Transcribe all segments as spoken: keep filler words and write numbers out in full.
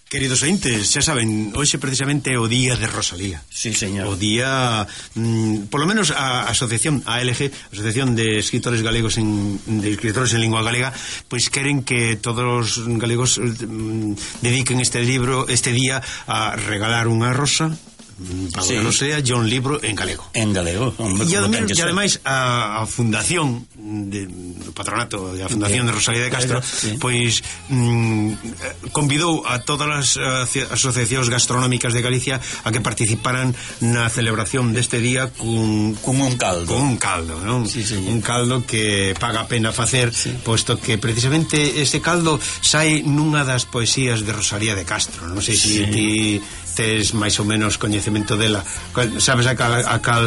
Queridos ointes, xa saben, hoxe precisamente é o día de Rosalía. Sí, señor. O día, mm, polo menos a asociación A L G, Asociación de Escritores Galegos en, de Escritores en Lingua Galega, pois queren que todos os galegos mm, dediquen este libro, este día a regalar unha rosa para sí. que non sea John libro en galego. En galego. Hombre, e ademais, e ademais a, a fundación de, do patronato da Fundación de Rosalía de Castro, sí. pois mm, convidou a todas as asociacións gastronómicas de Galicia a que participaran na celebración deste día cun, cun un caldo. Cun un caldo, non? Sí, sí, un caldo que paga a pena facer, sí. posto que precisamente este caldo sai nunha das poesías de Rosalía de Castro. Non sei se sí. ti tes máis ou menos coñecemento dela. Sabes a cal, a cal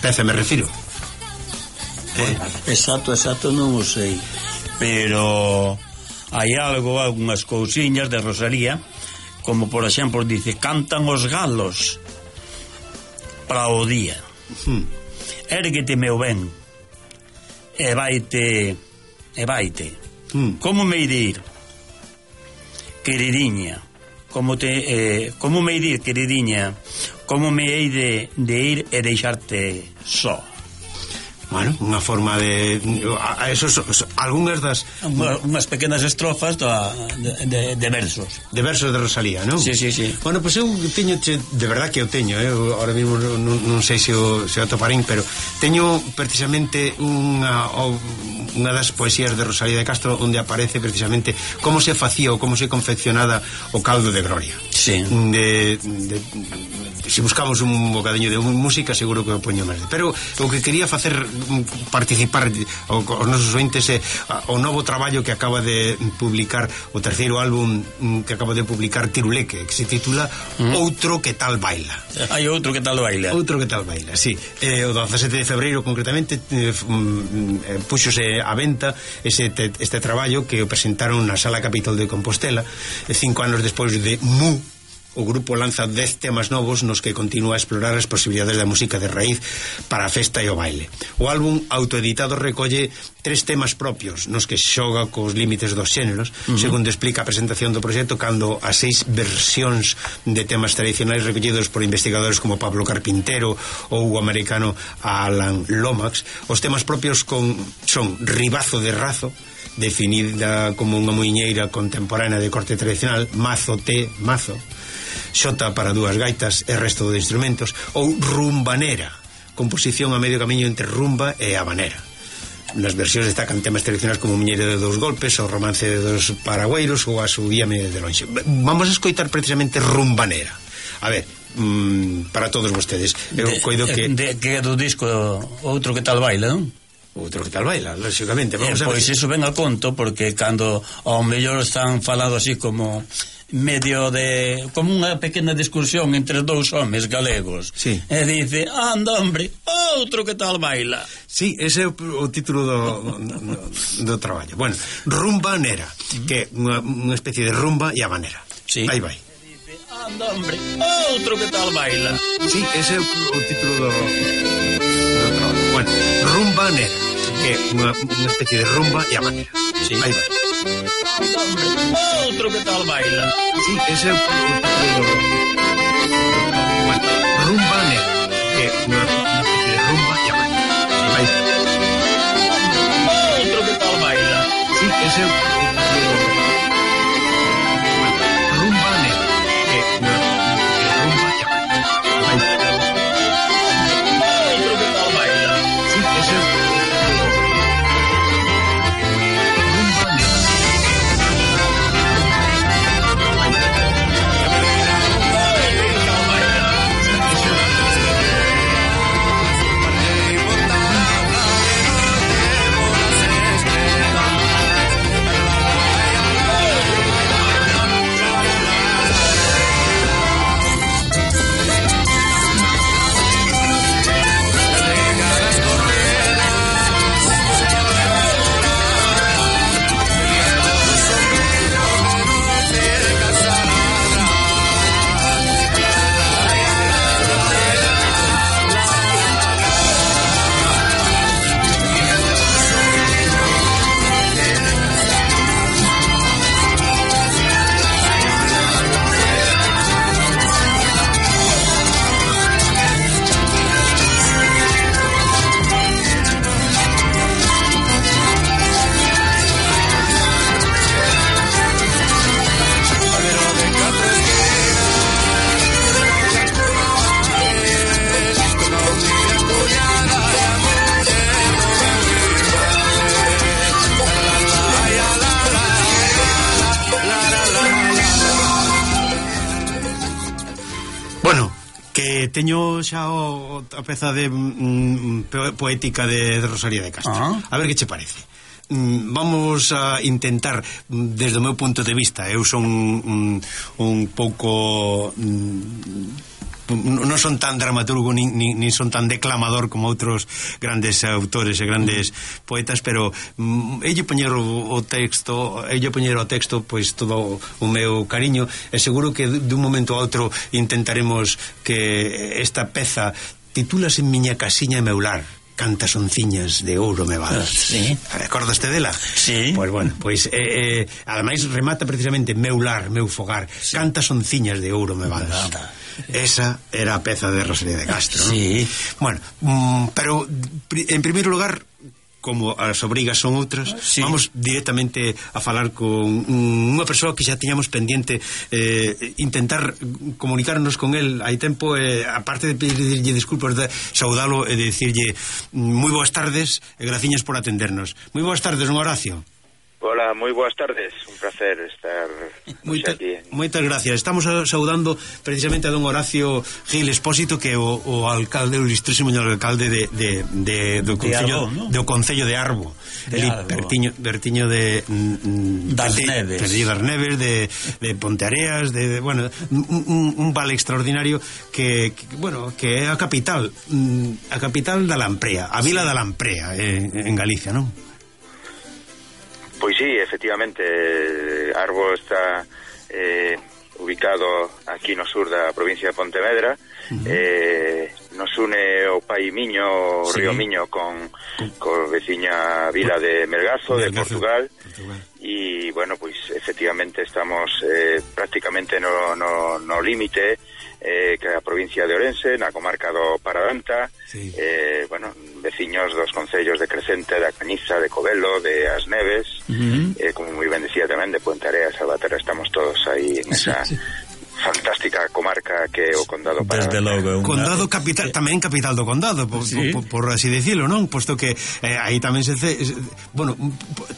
peza me refiro? Eh? Exacto, exacto, non o sei. Pero hai algo, algunhas cousiñas de Rosalía, como por exemplo dice: cantan os galos para o día. Hmm. Érguete, meu ben, e vaite, e vaite. Hmm. Como me ir, queridinha? Como te eh, como me ir, queridinha? Como me hei de, de ir e deixarte só? Bueno, unha forma de a, a esos, algunhas das Unha, unhas pequenas estrofas da, de, de, de versos de versos de Rosalía, non? Sí, sí, sí. Bueno, pois pues eu teño, de verdad que eu teño, eh? Ahora mesmo non, non sei se o, se o toparín, pero teño precisamente unha unha das poesías de Rosalía de Castro onde aparece precisamente como se facía ou como se confeccionada o caldo de gloria. Sí. De, de, de, se buscamos un bocadiño de música seguro que o poño máis. Pero o que quería facer participar o, os nosos ointes é o novo traballo que acaba de publicar, o terceiro álbum que acaba de publicar Tiruleque, que se titula mm. Outro que tal baila. Hai outro que tal baila. Outro que tal baila, sí. Eh, o dezasete de febreiro concretamente eh, eh, puxose a venta ese te, este traballo que o presentaron na Sala Capitol de Compostela e cinco anos despois de Mu. O grupo lanza dez temas novos nos que continúa a explorar as posibilidades da música de raíz para a festa e o baile. O álbum autoeditado recolle tres temas propios nos que xoga cos límites dos xéneros, uh-huh. segundo explica a presentación do proxecto, cando as seis versións de temas tradicionais recollidos por investigadores como Pablo Carpintero ou o americano Alan Lomax. Os temas propios con, son Ribazo de Razo, definida como unha muiñeira contemporánea de corte tradicional, Mazo T, Mazo, Xota para dúas gaitas e resto de instrumentos, ou Rumbanera, composición a medio camiño entre rumba e habanera. Nas versións destacan temas tradicionais como Muñeira de dous golpes, o Romance de dos paragüeiros ou a Subíame de lonxe. Vamos a escoitar precisamente Rumbanera. A ver, mmm, para todos vostedes, eu de, coido que... De, que é do disco Outro que tal baila, non? Outro que tal baila, lógicamente. Vamos eh, a ver. Pois iso ven a conto, porque cando ao mellor están falado así como medio de como unha pequena discusión entre dous homes galegos, sí. e dice: anda, hombre, outro que tal baila. Sí, ese é o, o título do, do, do traballo. Bueno, Rumbanera, uh-huh. que é unha, unha especie de rumba e habanera. Sí. Aí vai. E dice: anda, hombre, outro que tal baila. Sí, ese é o, o título do, do traballo. Bueno, Rumbanera, que é unha, unha especie de rumba e habanera. Sí. Aí vai. Hombre, outro que tal baila. Sí, ese é o título do... Bueno, Rumbanera, que é unha especie de rumba e habanera. Aí vai. Outro que tal baila. Sí, ese é o título do... Bueno, Rumbanera, que é unha especie de rumba e habanera. Aí vai. Outro que tal baila. Sí, ese é o Bueno, que teño xa o, a peza de mm, poética de, de Rosalía de Castro. Ah. A ver que che parece. Mm, vamos a intentar, desde o meu punto de vista, eu son un, un pouco... Mm, non son tan dramaturgo nin, nin, nin son tan declamador como outros grandes autores e grandes poetas, pero mm, elle poñer o, o texto elle poñer o texto pois todo o meu cariño, e seguro que dun momento a outro intentaremos que esta peza titúlase Miña casiña e meu lar, cantas onciñas de ouro me vadas. Sí. Recordaste dela? Sí. Pois bueno, pois eh, eh, ademais remata precisamente meu lar, meu fogar, sí. Cantas onciñas de ouro me vadas. Nada. Esa era a peza de Rosalía de Castro, ¿no? Sí. Bueno, mm, pero en primeiro lugar, como as obrigas son outras, sí. Vamos directamente a falar con unha persoa que xa tiñamos pendiente, eh, intentar comunicarnos con el hai tempo, eh, aparte de pedirlle disculpas, de saudalo e de dicirlle moi boas tardes e graciñas por atendernos. Moi boas tardes, don Horacio. Hola, moi boas tardes, un placer estar Moita, aquí. Moitas gracias. Estamos saudando precisamente a don Horacio Gil Expósito, que é o, o alcalde, o ilustrísimo alcalde de, de, de, do, concello, de ¿no? do Concello de Arbo, de Arbo. Bertiño, Bertiño de mm, das de, Neves, de das Neves, de, de Ponteareas, de, de bueno, un, un, un vale extraordinario que, que bueno, que é a capital, a capital da Lamprea, a vila sí. da Lamprea, eh, en Galicia, non? Pois sí, efectivamente, Arbo está eh, ubicado aquí no sur da provincia de Pontevedra. Uh-huh. eh, nos une o Pai Miño, o sí. río Miño con, con veciña vila de Melgazo, de Portugal. E, bueno, pois efectivamente estamos eh, prácticamente no, no, no límite eh, que a provincia de Ourense, na comarca do Paradanta, sí. eh, bueno, veciños dos concellos de Crecente, da Cañiza, de Covelo, de As Neves, uh-huh. eh, como moi ben decía tamén, de Ponteareas, Salvaterra, estamos todos aí en esa sí, sí. fantástica comarca que é o Condado Paradanta. Logo, Condado capital, eh, tamén capital do Condado, por, sí. por, por, por así decirlo, non? Posto que eh, aí tamén se... Ce, bueno,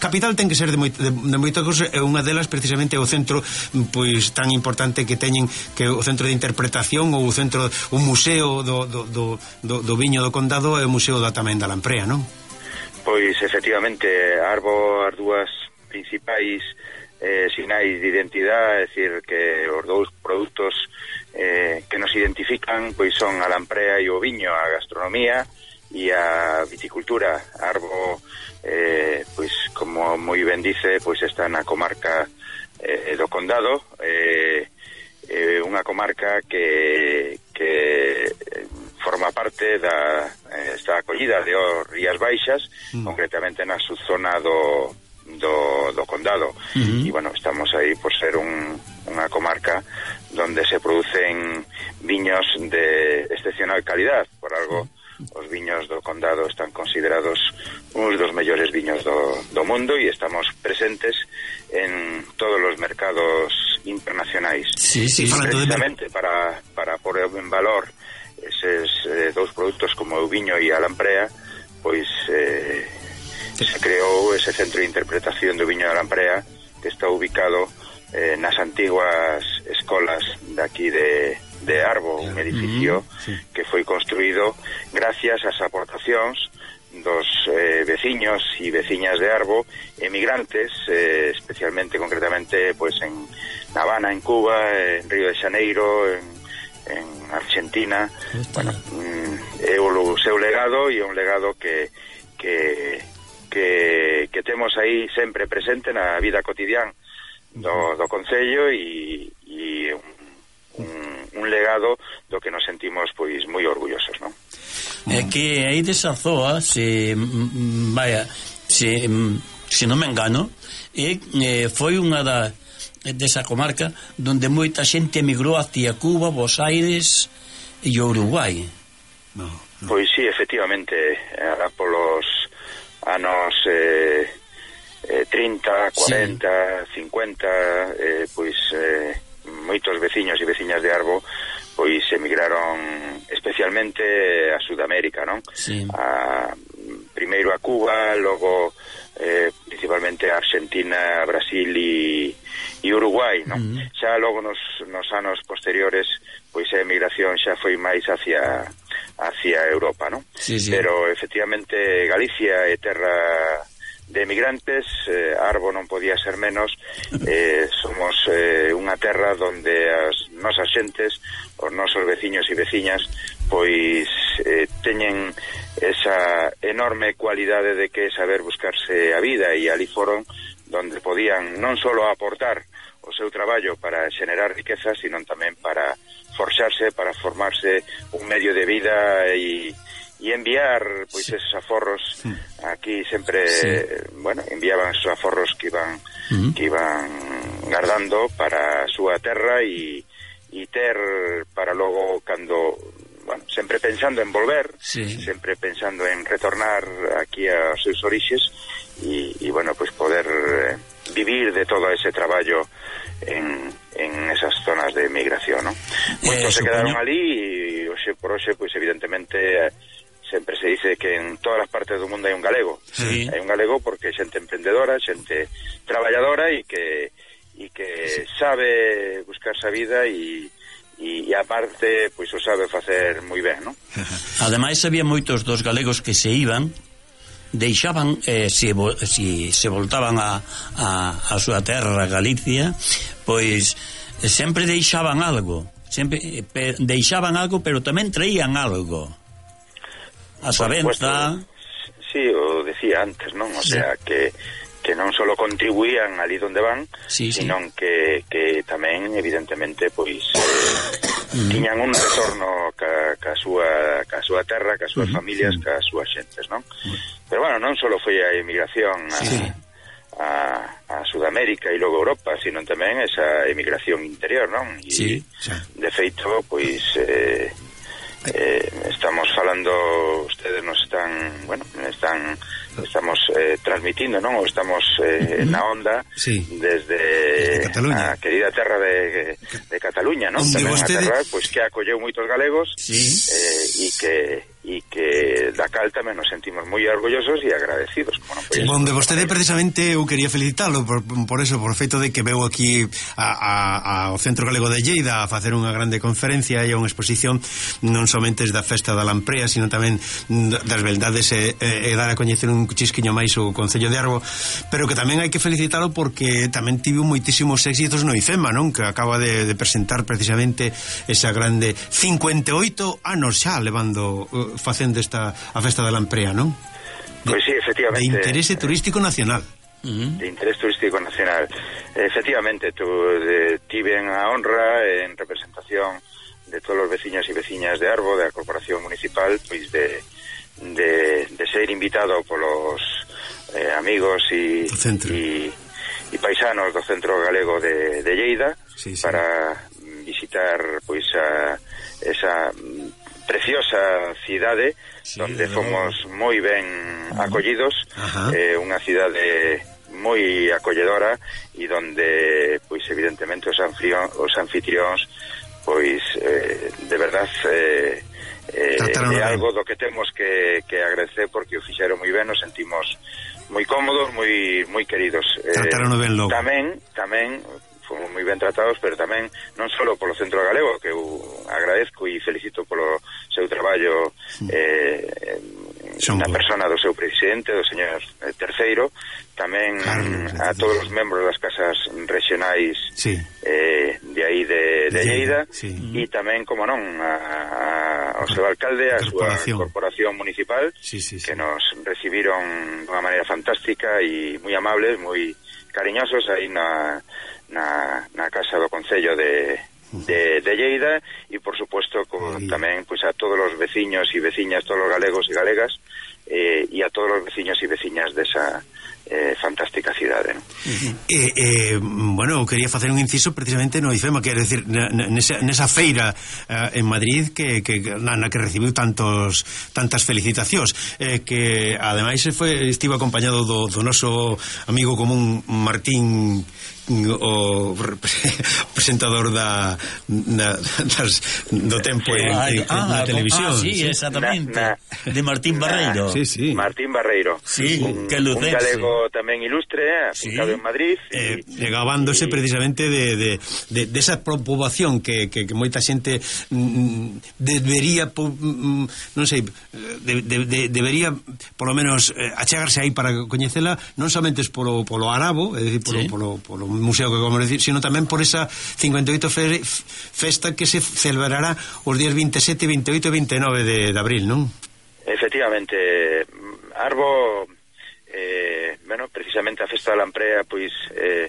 capital ten que ser de, moi, de, de moita cosa, e unha delas precisamente o centro pois tan importante que teñen, que o centro de interpretación ou o centro, o museo do, do, do, do, do viño do Condado e o museo da tamén da Lamprea, non? Pois efectivamente, Arbo, as dúas principais Eh, sinais de identidade, é dicir que os dous produtos eh, que nos identifican pois son a lamprea e o viño, a gastronomía e a viticultura. Arbo, eh, pois como moi ben dice, pois está na comarca eh, do Condado, eh, eh, unha comarca que, que forma parte da eh, está acollida de os Rías Baixas, mm. concretamente na subzona do Do, do Condado. Uh-huh. E bueno, estamos aí por ser un, unha comarca donde se producen viños de excepcional calidad. Por algo, uh-huh. os viños do Condado están considerados uns dos mellores viños do, do mundo e estamos presentes en todos os mercados internacionais. Sí, sí, precisamente de... para, para poner en valor eses eh, dous produtos como o viño e a lamprea, pois eh, se creou ese centro de interpretación do viño da Lamprea, que está ubicado eh, nas antiguas escolas de aquí de, de Arbo, un edificio mm-hmm. sí. que foi construído gracias ás aportacións dos eh, veciños e veciñas de Arbo, emigrantes, eh, especialmente, concretamente, pues en Habana, en Cuba, en Río de Janeiro, en, en Argentina. Bueno, mm, é o seu legado, e é un legado que que que, que temos aí sempre presente na vida cotidiana do, do Concello, e, e un, un, un legado do que nos sentimos pois moi orgullosos, non? É que aí desa zoa, se vaya, se, se non me engano, e, eh, foi unha da desa comarca donde moita xente emigrou hacia Cuba, Buenos Aires e Uruguai. No, no. Pois sí, efectivamente, era polos anos eh, eh, trinta, cuarenta, sí. cincuenta, eh, pois eh, moitos veciños e veciñas de Arbo pois emigraron especialmente a Sudamérica, non? Sí. A, primeiro a Cuba, logo eh, principalmente Argentina, Brasil e, e Uruguai, non? Uh-huh. Xa logo nos, nos anos posteriores pois a emigración xa foi máis hacia hacia Europa, non? Sí, sí. Pero efectivamente Galicia é terra de emigrantes, eh, Arbo non podía ser menos, eh, somos eh, unha terra donde as nosas xentes, os nosos veciños e veciñas, pois eh, teñen esa enorme cualidade de que saber buscarse a vida, e ali foron donde podían non só aportar o seu traballo para xenerar riqueza, sino tamén para forxarse, para formarse un medio de vida e e enviar pois sí. esos aforros sí. aquí sempre, sí. bueno, enviaban esos aforros que iban uh-huh. que iban guardando para a súa terra e e ter para logo cando, bueno, sempre pensando en volver, sí. sempre pensando en retornar aquí aos seus orixes e, e bueno, pois poder eh, vivir de todo ese traballo en, en esas zonas de migración, ¿no? Moitos eh, se quedaron ali e hoxe por hoxe, pois evidentemente eh, sempre se dice que en todas as partes do mundo hai un galego. Sí. Hai un galego porque é xente emprendedora, xente traballadora e que e que sí. sabe buscarse a vida e e aparte pois o sabe facer moi ben, non? Ademais había moitos dos galegos que se iban, deixaban eh, se, se, se voltaban a, a, a súa terra, Galicia, pois sempre deixaban algo, sempre pe, deixaban algo, pero tamén traían algo. A sabenza. Sí, o decía antes, non? O sí. sea, que que non só contribuían ali donde van, sí, sino sí. que, que tamén, evidentemente, pois eh, uh-huh. tiñan un retorno ca, ca, súa, ca súa terra, ca súas uh-huh. familias, ca súas xentes, non? Uh-huh. Pero, bueno, non só foi a emigración a, sí. a, a Sudamérica e logo Europa, sino tamén esa emigración interior, non? E, sí. Sí. de feito, pois... Eh, Eh, estamos falando, ustedes nos están, bueno, están estamos eh, transmitindo, non? O estamos eh, uh-huh. na onda sí. desde de a querida terra de, de Cataluña, non? Tamén vostede... a terra, pois, que acolleu moitos galegos sí. eh, e que e que da cal tamén nos sentimos moi orgullosos e agradecidos, como non sí. Onde vostede precisamente eu quería felicitalo por, por eso, por feito de que veu aquí a, a, ao Centro Galego de Lleida a facer unha grande conferencia e a unha exposición non somente da festa da Lamprea, sino tamén das beldades e, e, e dar a coñecer un chisquiño máis o Concello de Arbo, pero que tamén hai que felicitalo porque tamén tivo moitísimos éxitos no IFEMA, non? Que acaba de, de presentar precisamente esa grande cincuenta e oito anos xa levando facendo esta a festa da Lamprea, non? Pois pues sí, efectivamente. De interese turístico nacional. Uh-huh. De interés turístico nacional. Efectivamente, tu, de, tiven a honra en representación de todos os veciños e veciñas de Arbo, da Corporación Municipal, pois de, de, de ser invitado polos eh, amigos e, e, e paisanos do Centro Galego de, de Lleida sí, sí. para visitar pois a, esa preciosa cidade sí, donde fomos moi ben uh-huh. acollidos, eh, unha cidade moi acolledora e donde pois evidentemente os, anfitrións, os anfitrións pois eh, de verdad eh, eh, é algo do que temos que, que agradecer porque o fixeron moi ben, nos sentimos moi cómodos, moi moi queridos. Trataron ben logo. Tamén, tamén fomos moi ben tratados, pero tamén non só polo Centro Galego, que eu agradezco e felicito polo seu traballo eh, na persona do seu presidente, do señor Terceiro, tamén Carlos, a todos os membros das casas regionais sí. eh, de aí de, de Lleida sí. e tamén, como non, a, a, ao seu alcalde, a súa corporación municipal sí, sí, sí. que nos recibiron de unha maneira fantástica e moi amables, moi cariñosos aí na na, na casa do Concello de, de, de Lleida e por supuesto como tamén pois, a todos os veciños e veciñas, todos os galegos e galegas eh, e a todos os veciños e veciñas desa eh, fantástica cidade, ¿no? Uh-huh. eh, eh, bueno, quería facer un inciso precisamente no IFEMA, quero decir nesa, nesa feira eh, en Madrid que, que na, na que recibiu tantos tantas felicitacións eh, que ademais foi, estivo acompañado do, do noso amigo común Martín, o presentador da, da das, do tempo en, en, ah, na televisión ah, sí, exactamente na, na, de Martín Barreiro sí, sí. Martín Barreiro, sí, un, que un galego tamén ilustre, afincado sí. en Madrid, eh, e, gabándose y... precisamente de, de, de, de esa poboación que, que, que moita xente mm, debería mm, non sei de, de, de, debería polo menos eh, achegarse aí para coñecela, non somente polo, polo arabo, é dicir, polo, sí. polo, polo museo que vamos a decir, sino tamén por esa cincuenta e oito fe, festa que se celebrará os días veintisiete, veintiocho e veintinueve de, de abril, non? Efectivamente, Arbo, eh, bueno, precisamente a Festa da Lamprea, pois, eh,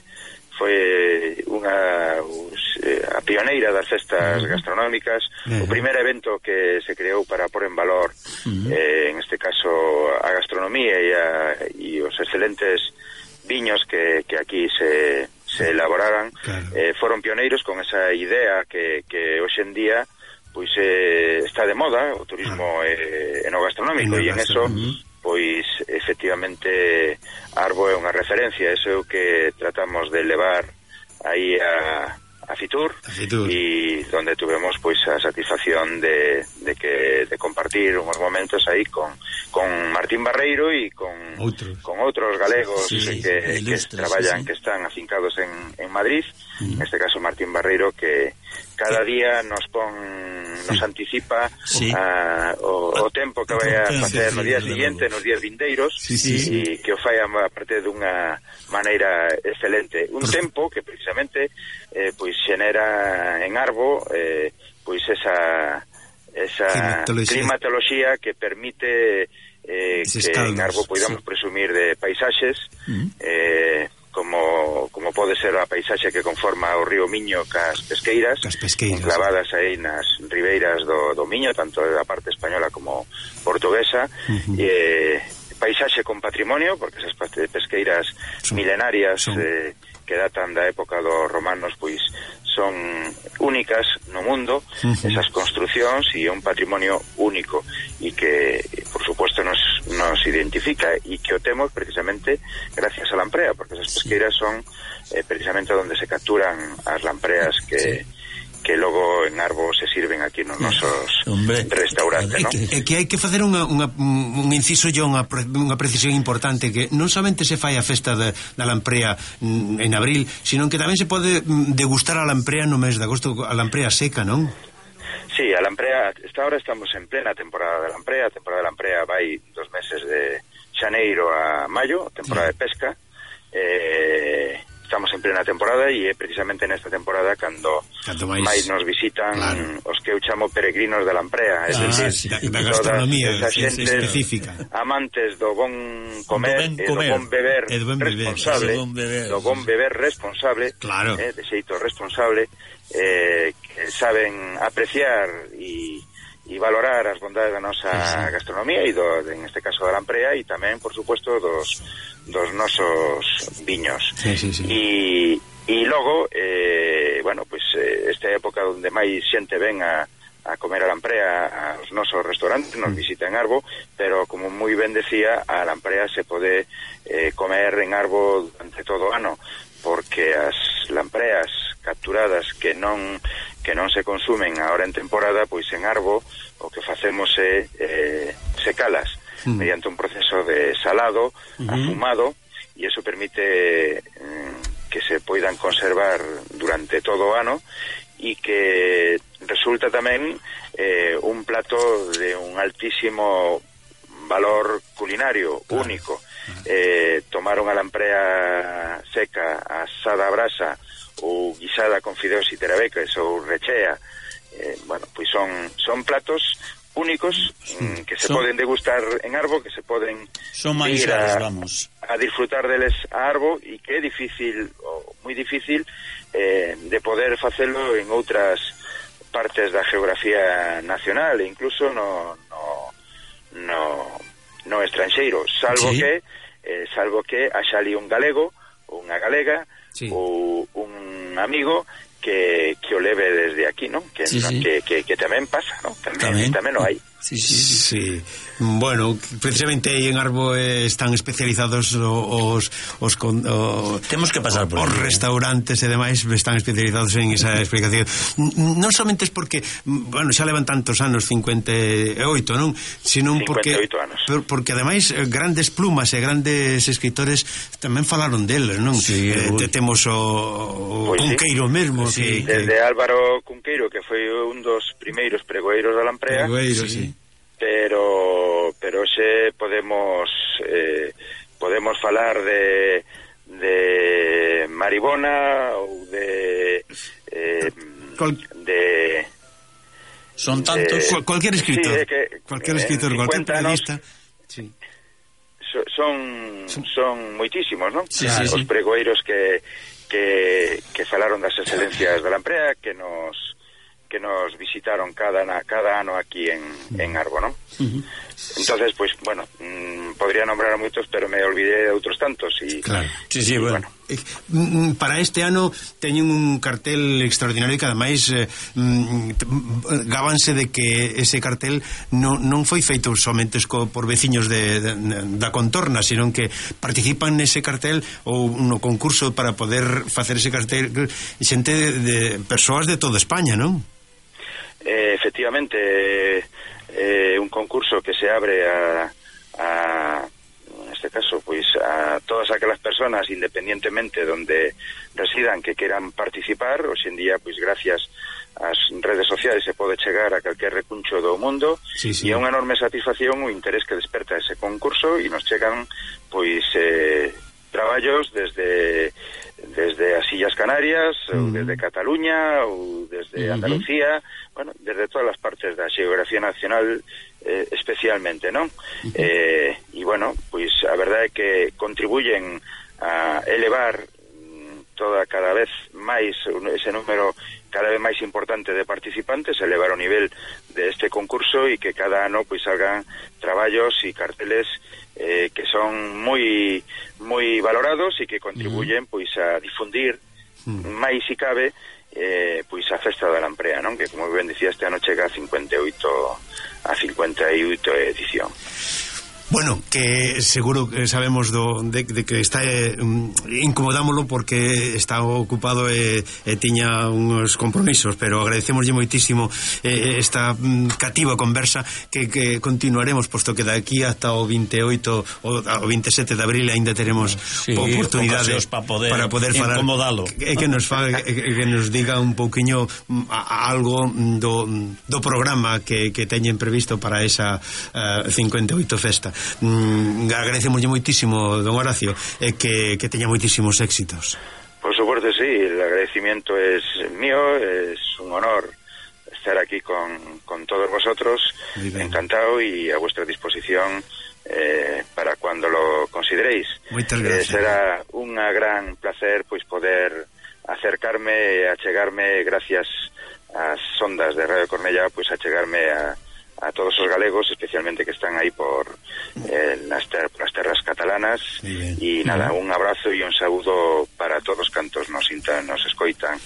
foi unha us, eh, a pioneira das festas uh-huh. gastronómicas, uh-huh. o primeiro evento que se creou para pôr en valor, uh-huh. eh, en este caso, a gastronomía e, a, e os excelentes viños que, que aquí se, se elaboraran, claro. eh, foron pioneiros con esa idea que, que hoxe en día pois eh, está de moda o turismo ah. eh, en o gastronómico, e en eso uh-huh. pois efectivamente Arbo é unha referencia, eso é o que tratamos de levar aí a, a Fitur, a Fitur, e donde tuvemos pois a satisfacción de, de que de compartir uns momentos aí con, con Martín Barreiro e con outros, con outros galegos sí, que, que traballan, sí, sí. que están afincados en, en Madrid, uh-huh. en este caso Martín Barreiro, que cada día nos pon nos sí. anticipa sí. a, o, o tempo que vai a facer no día seguinte, nos días vindeiros, sí, sí, sí. e que o fai a parte dunha maneira excelente. Un Por... tempo que precisamente eh, pois xenera en Arbo eh, pois esa esa climatoloxía, climatoloxía que permite eh, que en Arbo podamos sí. presumir de paisaxes uh-huh. eh, como como pode ser a paisaxe que conforma o río Miño cas pesqueiras, cas pesqueiras enclavadas aí nas ribeiras do, do Miño, tanto da parte española como portuguesa, uh-huh. e paisaxe con patrimonio, porque esas pesqueiras son, milenarias son. Eh, que datan da época dos romanos, pois son únicas no mundo, uh-huh. esas construcións, e un patrimonio único e que, por supuesto, nos, nos identifica e que o temos precisamente gracias a Lamprea, porque esas pesqueiras son eh, precisamente onde se capturan as lampreas que... Sí. que logo en Arbo se sirven aquí nos nosos Hombre, restaurantes, non? É que hai que facer unha, unha, un inciso e unha, unha precisión importante, que non somente se fai a festa de, da lamprea en abril, sino que tamén se pode degustar a lamprea no mes de agosto, a lamprea seca, non? Sí, a lamprea, esta hora estamos en plena temporada de lamprea, a temporada de lamprea vai dos meses de xaneiro a maio, temporada de pesca, eh... estamos en plena temporada e é precisamente nesta temporada cando máis, máis nos visitan, claro, os que eu chamo peregrinos da Lamprea, é ah, dicir, sí, da, da gastronomía específica, amantes do bon comer, do bon, e do bon beber do bon responsable, beber, bon beber, do bon beber responsable, claro, eh, de xeito responsable, eh, que saben apreciar e e valorar as bondades da nosa sí, sí. gastronomía e do, en este caso da Lamprea, e tamén, por suposto, dos, dos nosos viños. Sí, sí, sí. E, e logo, eh, bueno, pues eh, esta época onde máis xente ven a, a comer a Lamprea aos nosos restaurantes, nos visita en Arbo, pero como moi ben decía, a Lamprea se pode eh, comer en Arbo durante todo o ano, porque as lampreas capturadas que non que non se consumen agora en temporada, pois en Arbo o que facemos é eh, secalas mm. mediante un proceso de salado, uh-huh. afumado, e iso permite eh, que se poidan conservar durante todo o ano, e que resulta tamén eh, un plato de un altísimo valor culinario, claro, único. Eh, tomar unha lamprea seca asada a brasa ou guisada con fideos e terabecas ou rechea, eh, bueno, pois son son platos únicos mm, que se son, poden degustar en Arbo, que se poden ir a, vamos. a disfrutar deles a Arbo, e que é difícil, ou moi difícil eh, de poder facelo en outras partes da geografía nacional e incluso no no no no estranxeiro, salvo sí. que eh, salvo que haxa ali un galego ou unha galega, sí, ou un amigo que, que o leve desde aquí, ¿no? Que, sí, sí. que, que, que tamén pasa, ¿no? Tamén, tamén. tamén o hai. Sí, sí, sí. Sí. Bueno, precisamente aí en Arbo eh, están especializados os, os, con, o, temos que pasar por os aí, restaurantes e demais están especializados en esa explicación. Non somente es porque, bueno, xa levan tantos anos, cincuenta e oito, non? Sino porque anos. porque ademais grandes plumas e grandes escritores tamén falaron deles, non? Sí, eh, te, temos o, o pues Cunqueiro sí. mesmo sí, que, desde que... Álvaro Cunqueiro, que foi un dos primeiros pregoeiros da Lamprea. Pregoeiro, sí, sí. pero pero xe podemos eh, podemos falar de de Maribona ou de eh, Cual... de son tantos de, cualquier escritor sí, que, cualquier escritor, cualquier periodista sí. so, son son moitísimos, non? Sí, Claro, sí, os sí. pregoeiros que que que falaron das excelencias da Lamprea, que nos que nos visitaron cada cada ano aquí en, en Arbo, ¿no? Uh-huh. Entonces, pues, bueno, mmm, podría nombrar a moitos, pero me olvidé de outros tantos y, claro. Sí, sí, y, bueno. bueno. Para este ano teñen un cartel extraordinario que ademais eh, gábanse de que ese cartel non, non foi feito somente co, por veciños de, de, da contorna, sino que participan nese cartel ou no concurso para poder facer ese cartel xente de, de persoas de toda España, non? Eh, efectivamente, eh, un concurso que se abre a, a en este caso, pues a todas aquelas personas, independientemente donde residan, que quieran participar. Hoxe en día, pues gracias ás redes sociales se pode chegar a calquer recuncho do mundo, sí, sí. E é unha enorme satisfacción o interés que desperta ese concurso, e nos chegan, pois, eh, traballos desde desde as Illas Canarias, uh-huh. ou desde Cataluña, ou desde uh-huh. Andalucía, bueno, desde todas as partes da xeografía nacional, eh, especialmente, non? Uh-huh. Eh, e, bueno, pois a verdade é que contribuyen a elevar toda cada vez máis ese número cada vez máis importante de participantes, elevar o nivel de este concurso e que cada ano pois salgan traballos e carteles eh, que son moi moi valorados e que contribuyen pois a difundir máis si cabe eh, pois a festa da Lamprea, non? Que como ben dicía, este ano chega a cincuenta e oito a cincuenta e oito edición. Bueno, que seguro que sabemos do, de, de que está eh, incomodámoslo porque está ocupado e, e tiña uns compromisos, pero agradecemoslle moitísimo eh, esta mm, cativa conversa que, que continuaremos, posto que de aquí hasta o veintioito o, o veintisiete de abril ainda teremos sí, oportunidades para poder, para poder falar, incomodalo que, que, nos fa, que, que nos diga un pouquiño a, a algo do, do programa que, que teñen previsto para esa uh, cincuenta e oito festa. Mm, agradecemoslle moitísimo, don Horacio, eh, que, que teña moitísimos éxitos. Por supuesto, sí, el agradecimiento es mío, es un honor estar aquí con, con todos vosotros, encantado y a vuestra disposición eh, para cuando lo consideréis. Moitas gracias. Eh, será un gran placer pues poder acercarme, achegarme gracias ás ondas de Radio Cornellá, pues achegarme a a todos os galegos, especialmente que están aí por eh, nas, ter nas terras catalanas, e nada, un abrazo e un saúdo para todos cantos nos intan, nos escoitan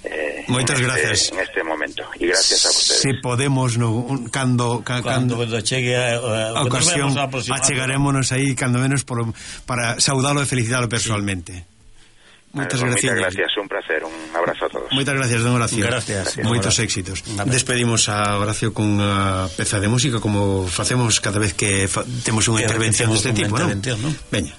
eh, moitas en gracias este, en este momento, e gracias a vostedes. Se podemos no, un, cando, ca, cando, cando chegue a, a, a ocasión achegarémonos aí cando menos por, para saudalo e felicitalo personalmente. Sí. Moitas bueno, gracias. Moitas gracias, un placer, un abrazo a todos. Moitas gracias, don Horacio. Gracias. Moitos éxitos. Despedimos a Horacio con unha peza de música como facemos cada vez que fa temos unha intervención deste tipo, non? ¿no? Veña.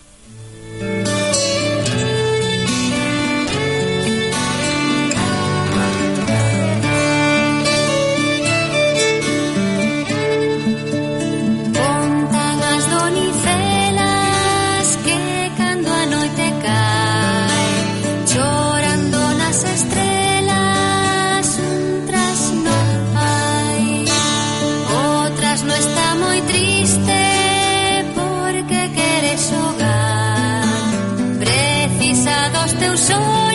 Teus ollos